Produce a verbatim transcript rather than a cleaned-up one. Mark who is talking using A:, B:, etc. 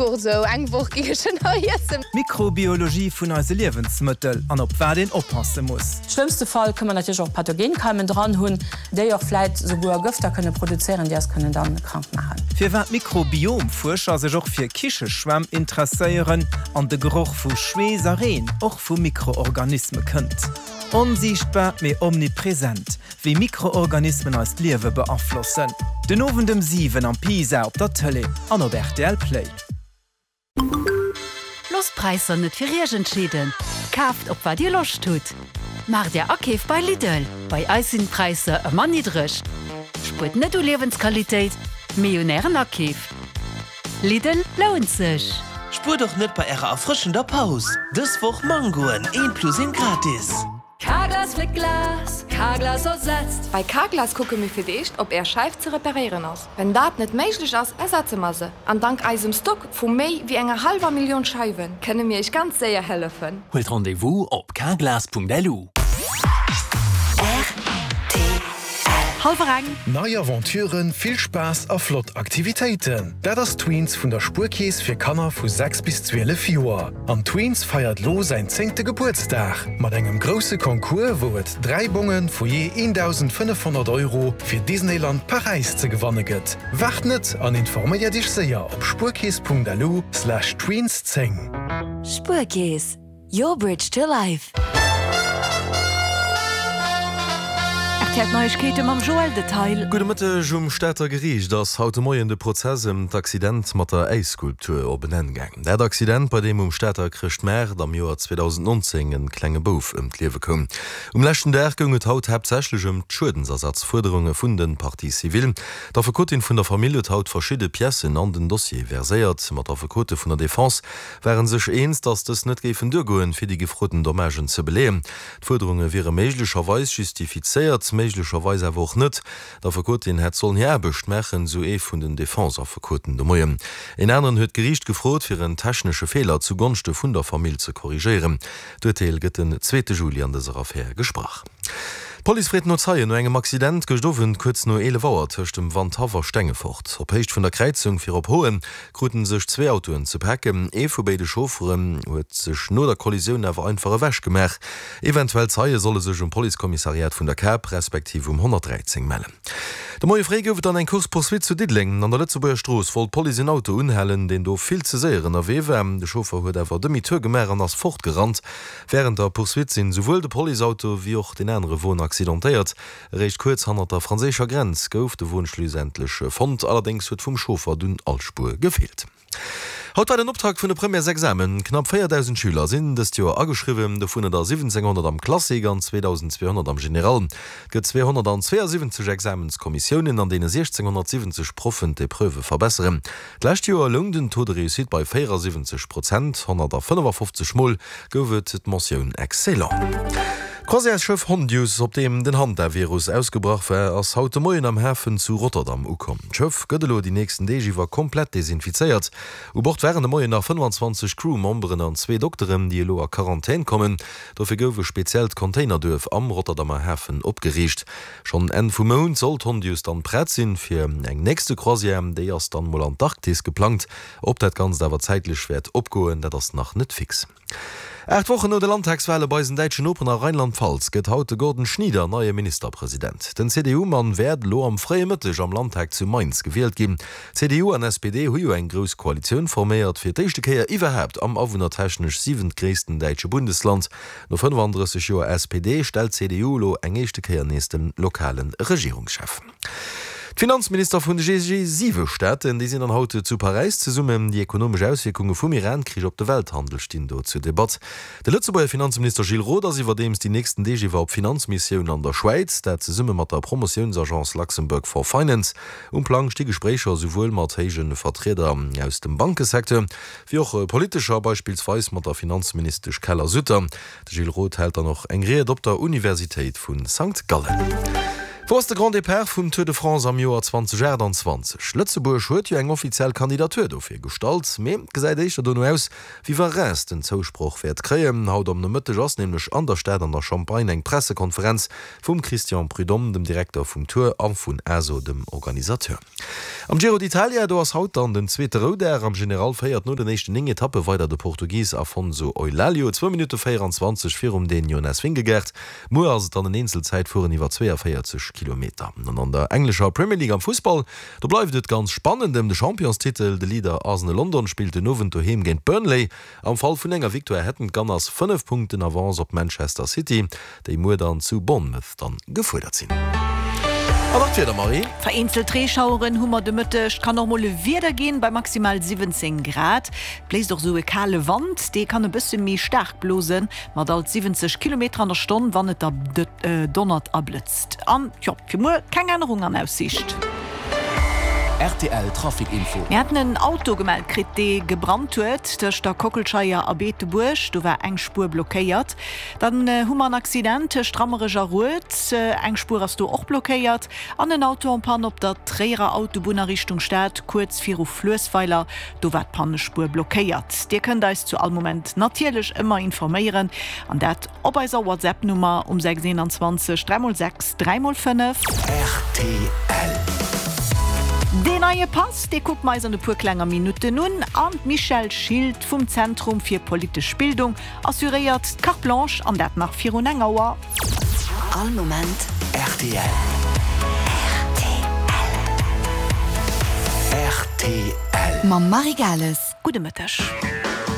A: Sou eng Woch géing ech en nach iessen.
B: D'Mikrobiologie vun eise Liewensmëttel an op wat een oppasse muss.
C: Schlëmmste Fall kënne mer natierlech och Pathogenkeimen dran hunn, déi och vläit souguer Gëfter kënne produzéieren, déi eis kënnen dann krank maachen.
B: Firwat Mikrobiomfuerscher sech och fir Kicheschwämm interesséieren an de Geroch vu Schweess a Reen och vu Mikroorganisme kënnt. Onsiichtbar, mee omnipresent, wéi Mikroorganismen eist Liewe beaflossen. Den Owend ëm siwen am Pisa op der Tëlee an op rtl Play.
D: Loosst d'Präisser net fir Iech entscheeden, kaaft op wat Dir Loscht hutt. Maacht Är Akeef bei Lidl, bei eis sinn d'Präisser ëmmer niddreg. Spuert net u Liewensqualitéit, mee un Ären Akeef. Lidl lount sech!
E: Spuert och net bei ärer erfrëschender Paus! Dës Woch Mangoen, een plus een gratis!
F: Carglass fléckt Glas, Carglass ersetzt.
G: Bei Carglass kucke mir fir d'éischt, ob Är Scheif ze reparéieren ass. Wenn dat net méiglech ass, ersetze mer se. An dank eisem Stock vu méi wéi enger hallwer Millioun Scheiwen, kënne mir Iech ganz séier hëllefen.
H: Huelt Rendez-vous op carglass.lu.
I: Hallwer eng.
J: Nei Aventuren, vill Spaass a flott Aktivitéiten, dat ass Tweens vun der Spuerkeess fir Kanner vu sechs bis zwielef Joer. An Tweens feiert lo säin zéngte Gebuertsdag mat engem grousse Concours, wou et dräi Bonge vu jee eendausendfënnefhonnert Euro fir Disneyland Paräis ze gewanne gëtt. Waart net an informéier dech séier op spuerkeess punkt lu slash tweens zéng.
K: Spuerkeess, your bridge to life.
I: R T L Neiegkeete mam Joël Detail.
L: Gudde Mëtteg, Um Stater Geriicht ass haut de Moien de Prozess ëm d'Accident mat der Äisskulptur op en Enn gaang. Dat Accident, bei deem um Stater Chrëschtmaart am Joer zweedausendnonzéng en klenge Bouf ëm d'Liewe koum. Um leschten Dag goung et haut haaptsächlech ëm d'Schuedensersatzfuerderunge vun de Parties civiles. D'Affekotin vun der Famill huet haut verschidde Piècen an den Dossier verséiert. Ma d'Affekote vun der Defense ware sech eens, datt dës net géifen duergoen, fir déi gefroten Dommagen ze beleeën. D'Fuerderunge wiere méiglecherweis justifizéiert, méiglecherweis awer och net. D'Affekotin hätt sollen hir Aarbecht maachen, sou ee vun den Defense-Affekoten de Moien. Een aneren huet d'Geriicht gefrot, fir en technesche Feeler zu Gonschte vun der Famill ze korrigéieren. D'Urteel gëtt den zweete Juli an dëser Affär gesprach. D'Police freet no Zeien no engem Accident gëscht Owend kuerz no eelef Auer tëscht dem Wandhaff a Stengefort. Op Héicht vun der Kräizung fir op Hoen krute sech zwee Autoen ze paken. Ee vu béide Chaufferen huet sech no der Kollisioun awer einfach ewech gemaach. Eventuell Zeie solle sech um Policekommissariat vun der Kap respektiv um honnertdräizéng mellen. De Moie fréi gouf et dann eng Course-poursuite zu Diddeleng. An der Lëtzebuerger Strooss wollt d'Police en Auto unhalen, deen do vill ze séier ënnerwee war. De Chauffer huet awer Demi-tour gemaach an ass fortgerannt. Wärend der Poursuite sinn esouwuel de Policeauto wéi och deen anere Won accidentéiert. Eréischt kuerz hannert der franséischer Grenz gouf de Won schlussendlech fonnt, allerdéngs huet vum Chauffer dunn all Spuer gefeelt. Haut war den Optakt vun de Premièresexamen. Knapp véierdausend Schüler sinn dëst Joer ageschriwwen, dovunner der siwwenzénghonnert am Classique an zweedausendzweehonnert am General. Et gëtt zweehonnertzweeasiwwenzeg Examenskommissiounen, an deene siechzénghonnertsiwwenzeg Proffen d'Epreuvë verbesseren. D'lescht Joer loung den Taux de réussite bei véierasiwwenzeg Prozent, honnertafënnefafofzeg Mol gouf et d'Mentioun excellent. D'Croisièresschëff Hondius, op deem den Hantavirus ausgebrach war, ass haut de Moien am Hafen zu Rotterdam ukomm. D'Schëff gëtt elo déi nächsten Deeg iwwer komplett desinfizéiert. U Bord waren de Moien nach fënnefanzwanzeg Crew-Memberen an zwee Dokteren, déi elo a Quarantän kommen. Dofir gouf e speziellt Containerduerf am Rotterdamer Hafen opgeriicht. Schonn Enn vum Mount soll d'Hondius dann prett sinn fir eng nächste Croisière. Déi ass dann mol an d'Arktis geplangt. Ob dat Ganzt awer zäitlech wäert opgoen, dat ass nach net fix. Aacht Wochen no de Landtagswale bei eisen däitschen Noperen a Rheinland-Pfalz gëtt haut de Gordon Schnieder neie Ministerpresident. Den C D U-Mann wäert elo am fréie Mëtteg am Landtag zu Mainz gewielt ginn. C D U an S P D hu jo eng grouss Koalitioun forméiert, fir d'éischte Kéier iwwerhaapt am awunnertechnesch siwentgréissten däitsche Bundesland. No fënnefandrësseg Joer S P D stellt d'C D U elo eng éischte Kéier nees de lokale Regierungschef. D'Finanzminister vun de G siwe Staaten, déi sinn dann haut zu Paräis zesummen. Déi ekonomesch Auswierkunge vum Iran-Krich op de Welthandel stinn do zur Debatt. De Lëtzebuerger Finanzminister Gilles Roth ass iwwerdeems déi nächsten Deeg iwwer op Finanzmissioun an der Schwäiz, dat zesumme mat der Promotiounsagence Luxembourg for Finance. Um Plang sti Gespréicher esouwuel mat héije Vertrieder aus dem Bankesecteur, wéi och politescher, beispillsweis mat der Finanzministesch Keller-Sutter. De Gilles Roth hält dann och eng Ried op der Universitéit vu Sankt Gallen. Wou ass de Grand Départ vum Tour de France am Joer zweitausenachtundzwanzeg? Lëtzebuerg huet jo eng offiziell Kandidatur dofir gestallt, mee et gesäit éischter dono aus, wéi wa Reims den Zousproch wäert kréien. Haut am Nomëtteg ass nämlech an der Stad an der Champagne eng Pressekonferenz vum Christian Prudhomme, dem Direkter vum Tour, a vun A S O, dem Organisateur. Am Giro d'Italia, do ass haut dann den zweete Roudag. Am General féiert no den éischten néng Etappe weider de Portugis Afonso Eulalio, zwou Minutte véieranzwanzeg virum Dän Jonas Vingegaard. Muer ass et dann en Eenzelzäitfueren iwwer zweeënvéierzeg Kilometer. An an der englescher Premier League am Fussball, do bleift et ganz spannend ëm de Championstitel. De Leader Arsenal London spillt den Owend doheem géint Burnley. Am Fall vun enger Victoire hätten d'Gunners fënnef Punkten Avance op Manchester City, déi muer dann zu Bournemouth dann gefuerdert sinn. An nach d'Wieder, Marie.
I: Vereenzelt Reeschaueren hu mer de Mëtteg, et kann och mol e Wieder ginn, bei maximal siwwenzéng Grad. Et bléist och esou e kale Wand, dee kann e bësse méi staark blosen, mat alt siwwenzeg Kilometer an der Stonn, wann et da donnert a blëtzt. An jo, fir muer keng Ännerung an Aussiicht.
H: Rtl Trafic Info.
I: Mir haten en Auto gemellt kritt, dee gebrannt huet tëscht der Kockelscheier a Beetebuerg. Do war eng Spuer blockéiert. Dann hu mer en Accident tëscht Rammerech a Rued. Eng Spuer ass do och blockéiert. An en Auto en panne op der Tréierer Autobunn a Richtung Stad, kuerz viru Fluessweiler. Do war d'Pannespuer blockéiert. Dir kënnt eis zu all Moment natierlech ëmmer informéieren an dat op eiser WhatsApp-Nummer um sechs eenanzwanzeg dräi mol sechs dräi mol fënnef.
H: Rtl.
I: Deen neie Pass, dee kucke mer eis an e puer klenger Minutten un an d'Michèle Schilt vum Zentrum fir politesch Bildung assuréiert d'Carte Blanche an dat nach virun eng Auer.
K: All Moment
H: rtl. Rtl.
K: Mam Marie Gales.
I: Gudde Mëtteg.